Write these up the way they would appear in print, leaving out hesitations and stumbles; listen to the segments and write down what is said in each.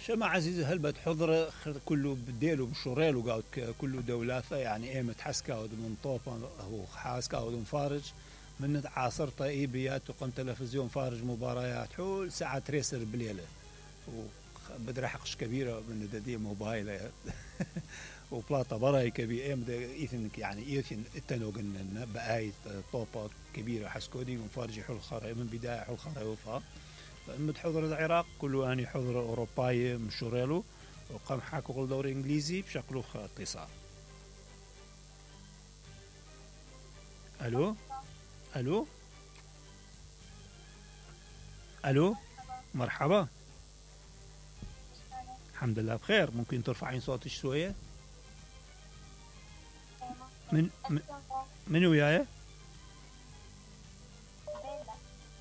شما عزيزي هل بتحضر كله بديلو بشوريلو قاعد كله دولاثة يعني ايه متحسكا من طوفة هو حاسكا مفارج من عاصرتا ايبيات وقم تلفزيون فارج مباريات حول ساعة تريسر بليلة وبدري حقش كبيرة من ددي موبايل وبلاطة براي كبير ايه ايثن يعني ايثن التنوغن بآية طوبة كبيرة حسكودي مفارج حول خاري من بداية حول خاري وفا متحضر العراق كله اني حضر اوروباي مشوريلو وقام حاكو كل دوري انجليزي بشكله اتصال. الو الو الو مرحبا الحمد لله بخير. ممكن ترفعين صوتك شويه؟ من وياي؟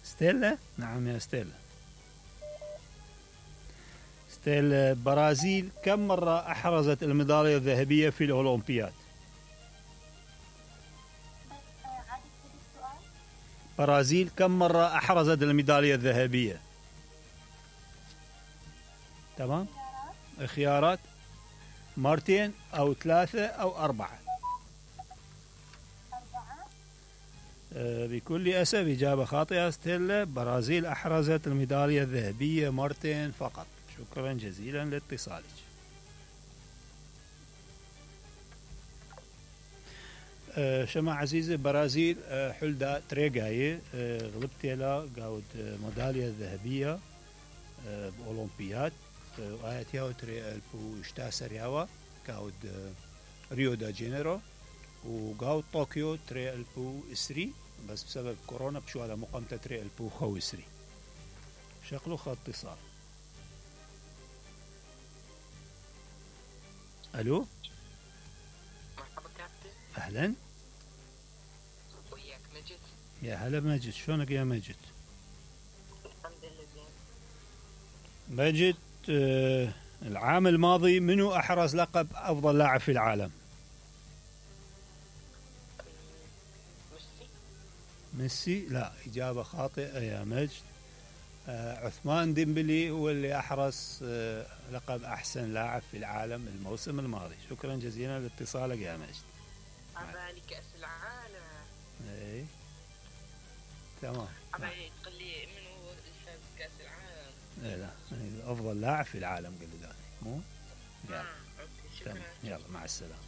ستيلا. نعم يا ستيلا. البرازيل كم مرة أحرزت الميدالية الذهبية في الأولمبياد؟ برازيل كم مرة أحرزت الميدالية الذهبية؟ تمام. خيارات مرتين أو ثلاثة أو أربعة. بكل أسف إجابة خاطئة ستيلا. برازيل أحرزت الميدالية الذهبية مرتين فقط. شكرا جزيلا لاتصالك. شما عزيزي برازيل حلدا تريقاي غلبتيلا قاود ميدالية ذهبية بأولمبياد وآيات ياو تري البو اشتاسر ياوا قاود ريو دا جينيرو وقاود طوكيو تري البو اسري بس بسبب كورونا بشو على مقامته تري البو خو اسري. شكله خط اتصال. الو مرحبا كابتن. اهلا وياك مجد. يا هلا مجد. شلونك يا مجد؟ الحمد لله زين. مجد العام الماضي منو احرز لقب افضل لاعب في العالم؟ ميسي. لا اجابه خاطئه يا مجد. عثمان ديمبلي هو اللي احرز لقب احسن لاعب في العالم الموسم الماضي. شكرا جزيلا لاتصالك يا مجد. عبالي كأس العالم. اي تمام. عبالي تقول لي منو فاز كأس العالم. اي لا افضل لاعب في العالم قال لي مو يلا. اوكي شكرا. يلا مع السلامه.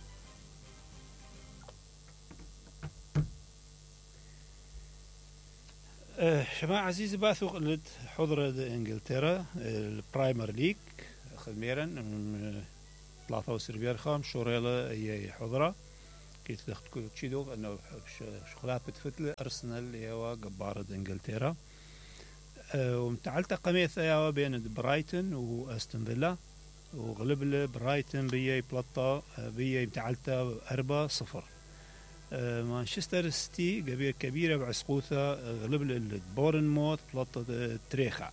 شماعة عزيزي باثو قلت حضرة انجلترا البرايمر ليج خميرا 73 بيرخام شوريلا هي حضرة كيت لخت تشيدو انه شغلات بتفتل ارسنال يوا قبارة انجلترا ومتعلتة قميث يوا بين برايتون واستون فيلا وغلب برايتون بيي بلطة بيي متعلتة 4-0. مانشستر سيتي قبيلة كبيرة بعسقوثة غلب بورنموث بلطة تريخا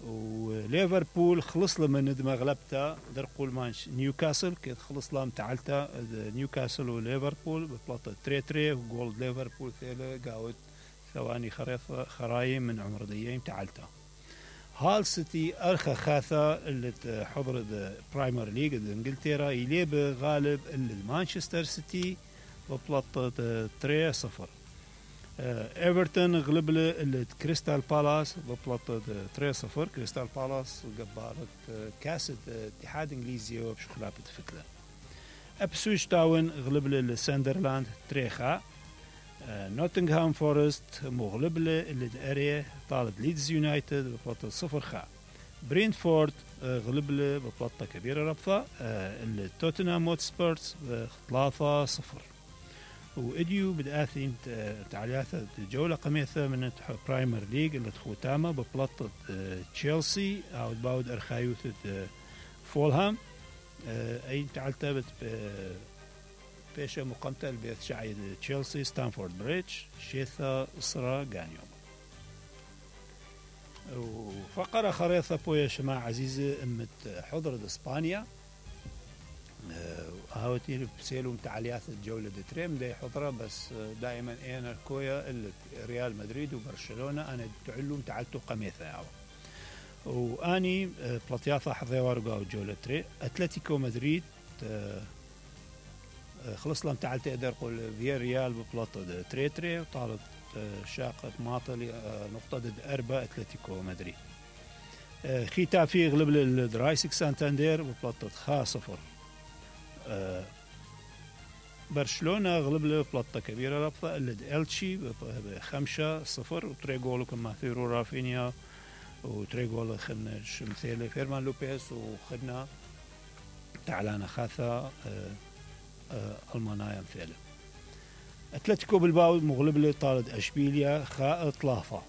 وليفربول خلص له من ندمة غلبته درقول نيوكاسل كيف خلص له متعلته نيوكاسل وليفربول ببلطة تري وجول ليفربول ثيله قاود ثواني خرايم من عمر ديين متعلته. هال سيتي أرخى خاثة اللي حضر برايمر ليج انجلترا يليب غالب المانشستر سيتي ببلطة 3-0. ايفرتون غلب كريستال بالاس ببلطة 3-0. كريستال بالاس قبارة كاس اتحاد انجليزي وبشخلاب تفتله. ابسويتش تاون غلب ساندرلاند 3. نوتنغهام فورست مغلب الاريا طالب ليدز يونايتد ببلطة 0. برينفورد غلب ببلطة كبيرة ربطة توتنهام هوتسبيرز 3-0. وإديو بدأثين تعليات الجولة قميثة من برايمر ليج اللي تخوتامة ببلطة تشيلسي أو باود أرخايوث فولهام أي تعلتبت بيشة مقامتة البيت شعيد تشيلسي ستانفورد بريدج شيثا إصرا غانيوم. وفقرة خريطة بويا شماع عزيزة أمت حضرة إسبانيا هاوتي بسيلو تعليات الجولة دتريم دي حضرة بس دائما انا كويا ريال مدريد وبرشلونة انا تعلم تعلتو قميثة ياو واني بلطياثة حظيوار وقاو جولة تري اتلتيكو مدريد خلص لهم تعال تقدر قول فيا ريال ببلاطة تري وطالت شاقة ماطل نقطة ضد أربعة اتلتيكو مدريد. ختافي يغلب الدرايسك سانتاندير ببلاطة 0. برشلونة غلب ببلاطة كبيرة رابطة اللي إلتشي 5-0 وتري جول كما ثيرو رافينيا وتري جول خدنا شمثيلة فيرمان لوبيز وخدنا تعلانة خاثة ألمانيا مثيلة. أتلتيكو بالباو مغلب لطالد أشبيليا خائط لافا.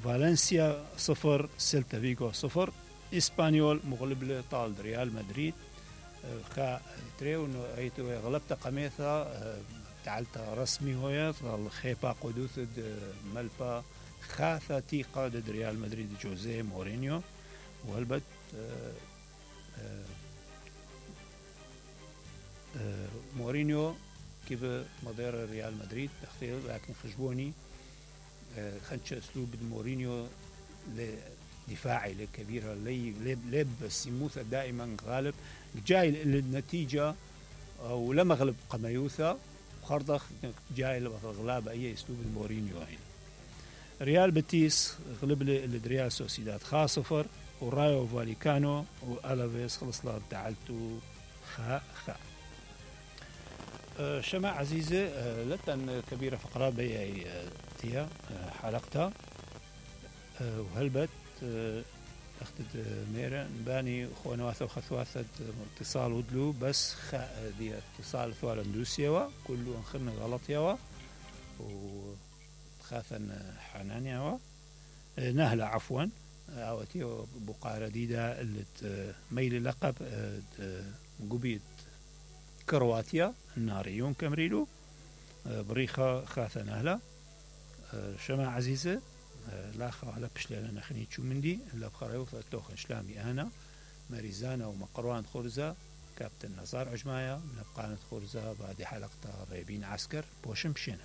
فالنسيا 0 سيلتا فيغو 0. إسبانيول مغلب لطالد ريال مدريد خا تريو انه ايتو غلبت قميثا تعالتا رسمي هويا خيبا قدوث ملبا خاثة تيقا ضد ريال مدريد جوزيه مورينيو وهلبت مورينيو كيف مدير ريال مدريد تختير لكن خجبوني خنش اسلوب مورينيو دفاعي لكبيرة لب السموثة دائما غالب جاي للنتيجة ولما غلب قميوثا وخرضخ جاي لغلاب أي أسلوب مورينيو هنا. ريال بيتيس غلب للريال سوسيداد 0 ورايو فاليكانو وألافيس خلص لها تعالتو خا شماع عزيزة لتن كبيرة فقرة بي تيا حلقتها وهلبت اخذت ميرا نباني خوانواثة وخثواثة اتصال ودلو بس دي اتصال ثوال اندوسيوا كله انخرنا غلط يوا وخاثا حنان يوا نهلة عفوا اوتيو بقارة ديدا اللي ميل لقب قبيت كرواتيا الناريون كمريلو بريخة خاثا نهلة شماع عزيزة لا خاله بشلنا نخني شو مندي إلا بخريوث توخن شلامي أنا مريزانا ومقروان خرزة كابتن نزار عجمايا من بقانة خرزة بعد حلقة ريبين عسكر بوشم بشينا.